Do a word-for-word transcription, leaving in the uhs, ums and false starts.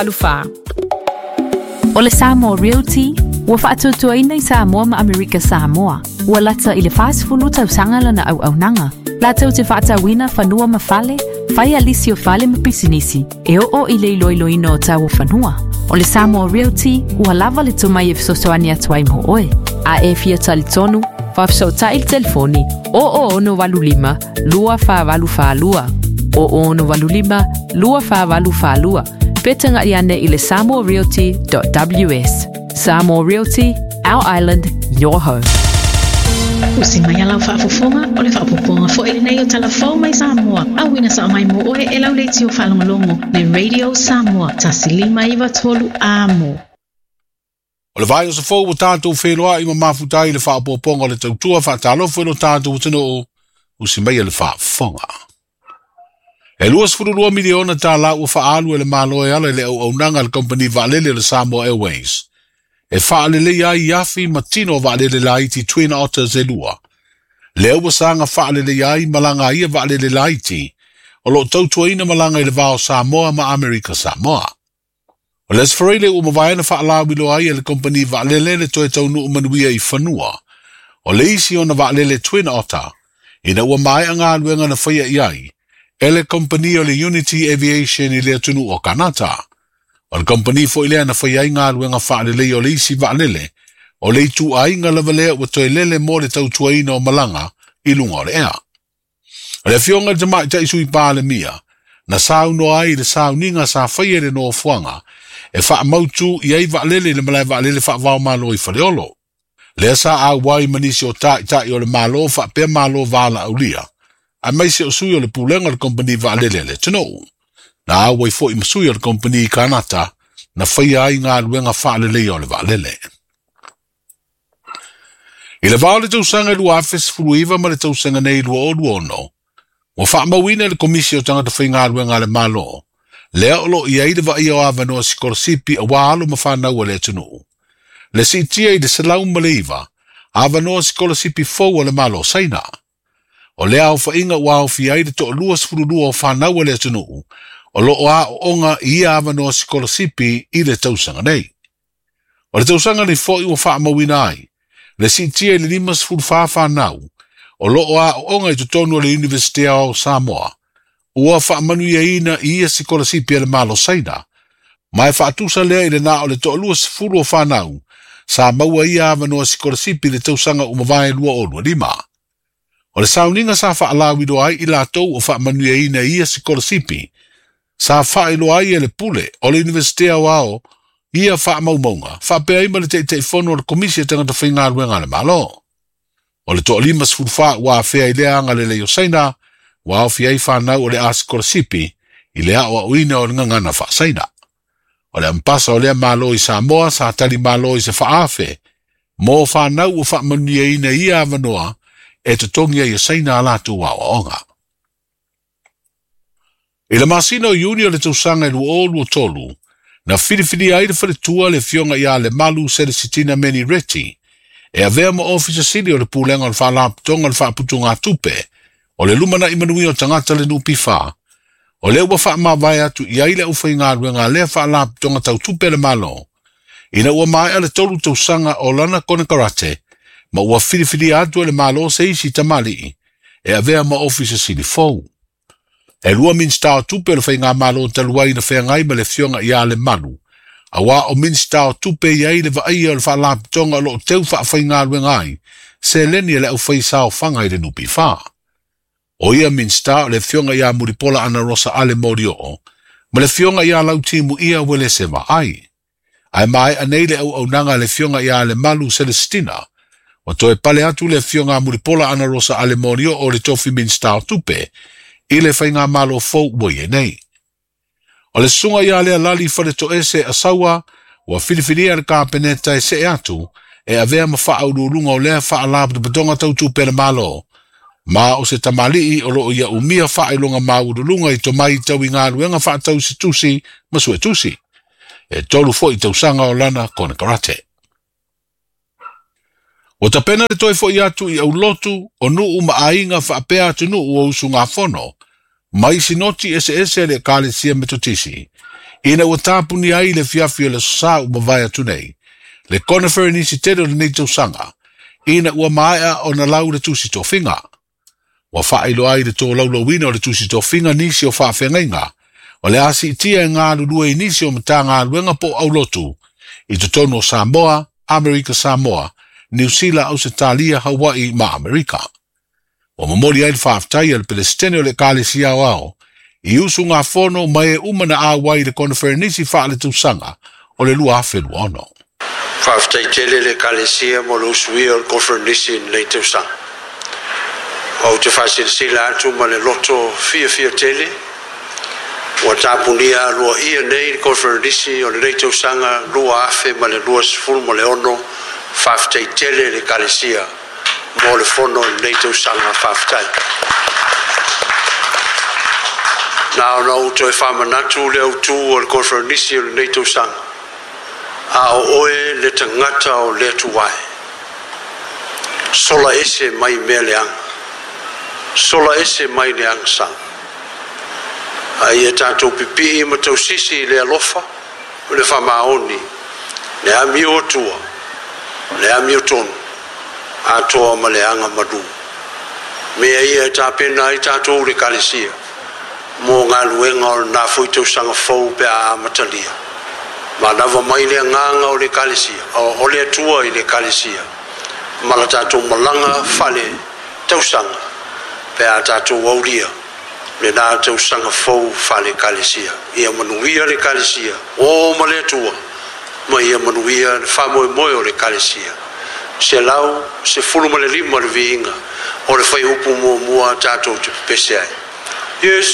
Alufa. O le Samoa Realty, ua faatuatuaina i Samoa ma Amerika Samoa. Ua lata i le fasefulu tausaga lana auaunaga. Latou te faatauina fanua ma fale, faia lisi o fale ma pisinisi, e oo i le iloiloina o tau o fanua. O le Samoa Realty, ua lava le tomai e fesoasoani atu ai mo oe. A e fia talitonu, faafesootai i le telefoni o o ono valu lima, lua fa valu fa lua. O o ono valu lima, lua fa valu fa lua. Pe taga'i ane i le samoa realty dot w s. Samoa Realty, our island, your home. Usi mai alau faafofoga o le faapopoga foi lenei o talafou mai Samoa. Auina sa mai mo oe e lau leitio faalogologo le Radio Samoa tasi lima iva tolu amo. O le vai o se fou o tātou whenua i ma mafutai i le faapopoga o le tautua whaatalofo i lo tātou atunuu, usi mai le faafofoga. E luasefulu lua miliona tālā ua faaalu e le Malo e ala i le auaunaga a le kompani vaalele o le Samoa Airways. E faalelei ai i afi ma tino o vaalele laiti Twin Otters e lua. Lea ua saga faalelei ai malaga ia vaalele laiti o loo tautuaina malaga i le va o Samoa ma Amerika Samoa. O le Aso Faraile ua mavae na faalauiloa ai e le kompani vaalele le toe taunuu manuia i fanua. O le isi ona vaalele Twin Otter ina ua maea galuega na faia i ai e le kompani o le Unity Aviation i le atunuu o Kanata. O le kompani foi lea na faia ai galuega faalelei o le isi vaalele o le ituaiga lava lea ua toe lele mo le tautuaina o malaga i luga o le ea. O le afioga i le tamaitai sui Palemia na saunoa ai i le sauniga sa faia i le nofoaga e faamautu i ai vaalele i le malae vaalele faavaomalo i Faleolo. Lea sa auai ma nisi o taʻitaʻi o le Malo faapea Malo valaaulia aemaise o sui o le pulega o le kompani vaalele a le atunuu. Na auai foi ma sui o le kompani i Kanata na faia ai galuega faaleleia o le vaalele. I le va o le tausaga i lua afe sefulu iva ma le tausaga nei lua o lua ono, ua faamauina e le Komisi o Tagata Faigaluega a le Malo, lea o loo i ai le vaaia o avanoa sikolasipi auā alo ma fanau a le atunuu. Le siitia i le selau ma le iva, avanoa sikolasipi fou a le Malo o Saina. O lea aofaiga ua aofia ai le toalua sefulu lua o fanau a le atunuu, o loo aooga i ia avanoa sikolasipi i le tausaga nei. O le tausaga nei foi ua faamauina ai, le siitia i le lima sefulu fa fanau, o loo aooga i totonu o le Universite o Samoa, ua faamanuiaina i ia sikolasipi a le Malo Saina, ma e faatusa lea i le na o le toalua sefulu o fanau, sa maua ia avanoa sikolasipi i le tausaga ua mavae lua o lua lima. O le sauniga sa faalauiloa ai i latou o faamanuiaina i ia sikolasipi, sa faailoa ai e le pule o le Universite Aoao ia faamaumauga, faapea ai ma le taitaifono o le Komisi a Tagata Faigaluega a le Malo. O le toalima sefulu fa ua afea i lea agalelei o Saina, ua aofia ai fanau o le a sikolasipi i le aoaoina o le gagana faasaina. O le ampasa o lea Malo i Samoa sa tali malo i se faafe, mo fanau ua faamanuiaina i ia avanoa e totogi ai e Saina a latou aoaoga. I le masina o Iuni o le tausaga i lua o lua tolu, na filifilia ai le faletua le afioga ia Lemalu Selesitina Meni Reti, e avea ma ofisa sili o le pulega o le faalapotopotoga o le faaputugatupe o le lumanai manuia o tagata le N P F. O lea ua faamavae atu i ai le aufaigaluega a lea faalapotopotoga tautupe a le Malo, ina ua maea le tolu tausaga o lana konekarate, ma ua filifilia atu e le Malo se isi tamalii e avea ma ofisa sili fou. E lua Minista o Tupe o le Faigamalo talu ai na feagai ma le afioga ia Lemalu, auā o Minista o Tupe i ai le vaaia o le faalapotopotoga o loo teu faafaigaluega ai seleni a le aufaisaofaga i le N P F. O ia Minista o le afioga ia Mulipola Ana Rosa Ale Molioo ma le afioga ia Lautimu ia Uelese Vaai. Ae maea nei le auaunaga a le afioga ia Lemalu Celestina, ua toe pale atu le afioga a Mulipola Ana Rosa Ale Molioo o le tofi Minista o Tupe i le Faigamalo fou ua i ai nei. O le susuga ia lea Lali Faletoese Asaua ua filifilia e le Kapeneta e see atu e avea ma faauluuluga o lea faalapotopotoga tautupe a le Malo, ma o se tamalii o loo ia umia faailoga maualuluga i tomai tau i galuega faatausitusi ma suetusi. E tolu foi tausaga o lana konekarate. Ua tapena le toe foʻi atu i aulotu o nuu ma aiga faapea atunuu o usugafono mai sinoti eseese a le Ekalesia Metotisi Ina ua tapunia ai le afiafi o le Aso Sa ua mavae atu nei, le koneferenisi tele o lenei tausaga, ina ua maea ona lau le tusi tofiga. Ua faailoa ai le tolaulauina o le tusi tofiga nisi o faafeagaiga, o le a siitia e galulue i nisi o Matagaluega po o aulotu, i totonu o Samoa, Amerika Samoa, Niu Sila, Ausetalia, Hawaii ma Amerika. Ua momoli ai le faafetai a le Pelesitene o le Ekalesia Aoao, i usugafono ma e uma na auai i le koneferenisi faaletausaga o le lua afe lua ono. Faafetai tele le Ekalesia mo le usuia o le koneferenisi i lenei tausaga. Ou te faasilasila atu ma le loto fiafia tele, ua tapunia aloaia nei le koneferenisi o lenei tausaga lua afe ma le lua sefulu ma le ono. Faafetai tele le Ekalesia mo le fono i lenei tausaga. Faafetai. Na ona ou toe faamanatu le autu o le koneferenisi o lenei tausaga. A o oe le tagata o le Atua e, sola ese mai mea leaga, sola ese mai le agasala. A ia tatou pipii ma tausisi i le alofa o le faamaoni, le amio atua, le amio tonu, atoa ma le aga malu. Mea ia e tapena ai tatou le Ekalesia mo galuega o lena foi tausaga fou pe a amatalia. Manava mai le agaga o le Ekalesia, o le Atua i le Ekalesia, ma la tatou malaga fale tausaga pe a tatou aulia lena tausaga fou fale Ekalesia. Ia manuia le Ekalesia, o ma le Atua, ma ia manuia le faamoemoe o le Ekalesia. Selau sefulu ma le lima le viiga o le fuaiupu muamua tatou te pepese ai. Yes.